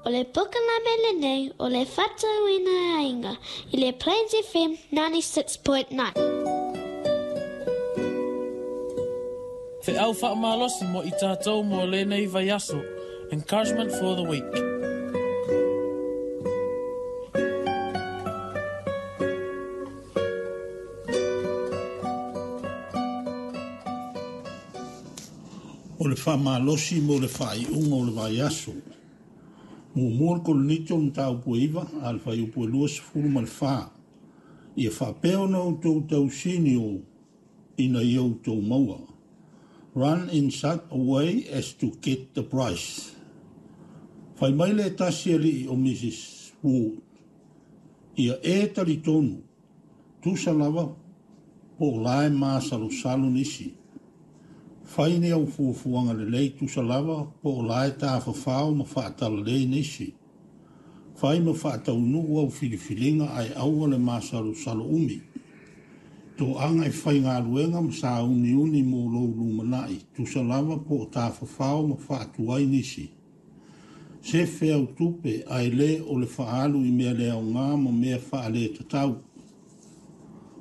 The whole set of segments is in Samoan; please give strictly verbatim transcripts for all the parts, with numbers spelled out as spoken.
O le polokalame lenei o le Faatauina Aiga i le Plains F M ninety-six point nine. Feau faamalosi mo i tātou mo lenei vaiaso. Encouragement for the week. O le faamalosi mo le faaiuga o le vaiaso. Muamua Korinito mataupu e iva, a le fuaiupu e lua sefulu ma le fa. Ia faapea ona outou tausinio ina ia outou maua. Run in such a way as to get the prize. Fai mai le tasi alii o Missus Wood. Ia e talitonu, tusa lava po o la e masalosalo nisi. Fai ni au fuafuaga lelei tusa lava po o la e tafafao ma faatalale nisi. Fai ma faataunuu au filifiliga ae aua le masalosalo umi. Toaga e faigaluega ma sauniuni mo lou lumanai, tusa lava po o tafafao ma faatuai nisi. Sefe au tupe ae le o le faaalu i mea le aoga ma mea faaletatau.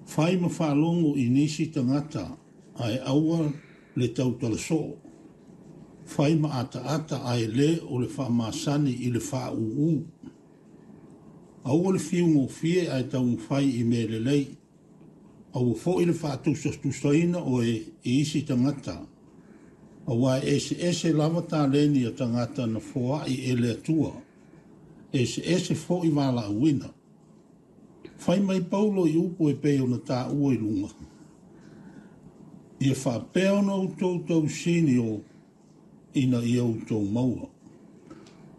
Fai ma faalogo i nisi tagata ae aua le tautala soo. Fai ma ataata ae le o le faamasani i le faaūū. Aua le fiugofie ae taumafai i mea lelei. Aua foi le faatusatusaina oe i isi tagata. Auā e eseese lava taleni a tagata na foai e le Atua. Eseese foi valaauina. Fai mai Paulo i upu e pei ona taua i luga. Ia faapea ona outou tausinio ina ia outou maua.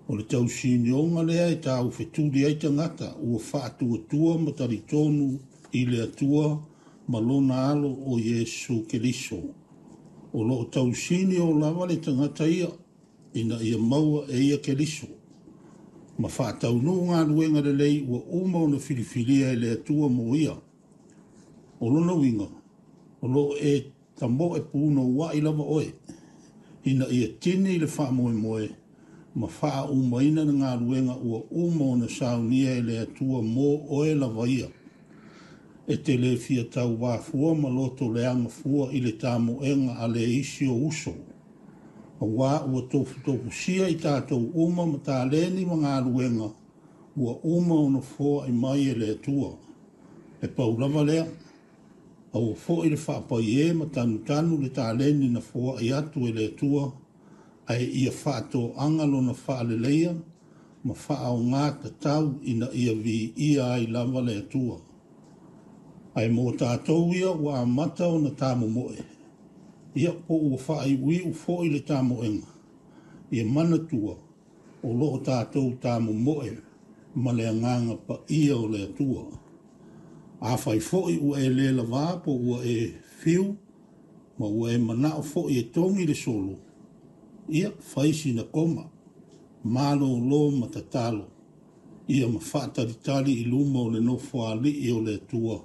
O le tausinioga lea e taufetuli ai tagata ua faatuatua ma talitonu i le Atua ma lona alo o Iesu Keriso. O loo tausinio lava le tagata ia ina ia maua e ia Keriso. Ma faataunuu galuega lelei ua uma ona filifilia e le Atua mo ia. O lona uiga, o loo e tamoe punouai lava oe, ina ia tini le faamoemoe ma faaumaina le galuega ua uma ona saunia e le Atua mo oe lava ia. E te le fia tauvā fua ma loto leaga fua i le tamoega a le isi o uso. Auā ua tofutofusia i tatou uma ma taleni ma galuega ua uma ona foai mai e le Atua. E pau lava lea, aua foi le faapaiē ma tanutanu le taleni na foai atu e le Atua, ae ia faatoaga lona faaleleia ma faaaogā tatau ina ia viia ai lava le Atua. Ae mo tatou ia ua amata ona tamomoe, ia po ua faaiuiu foi le tamoega, ia manatua o loo tatou tamomoe ma le agaga paia o le Atua. Afai foi ua e le lavā po ua e fiu ma ua e manao foi e togi le solo, ia fai sina koma, malōlō ma tatalo, ia ma faatalitali i luma o le nofoalii o le Atua,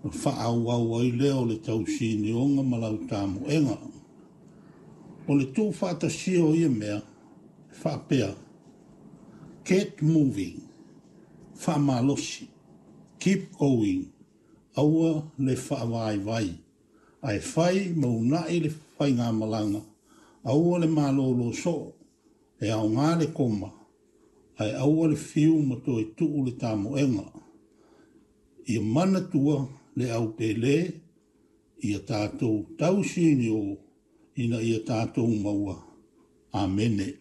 na faaauau ai lea o le tausinioga ma lau tamoega. O le tuufaatasia o ia mea, e faapea, get moving, faamalosi, keep going, aua le faavaivai, ae fai ma uunai le faigamalaga, aua le malōlō soo, e aogā le koma, ae aua le fiu ma toe tuu le tamoega. Ia manatua le aupēlē, ia tatou tausinio ina ia tatou maua. Amene.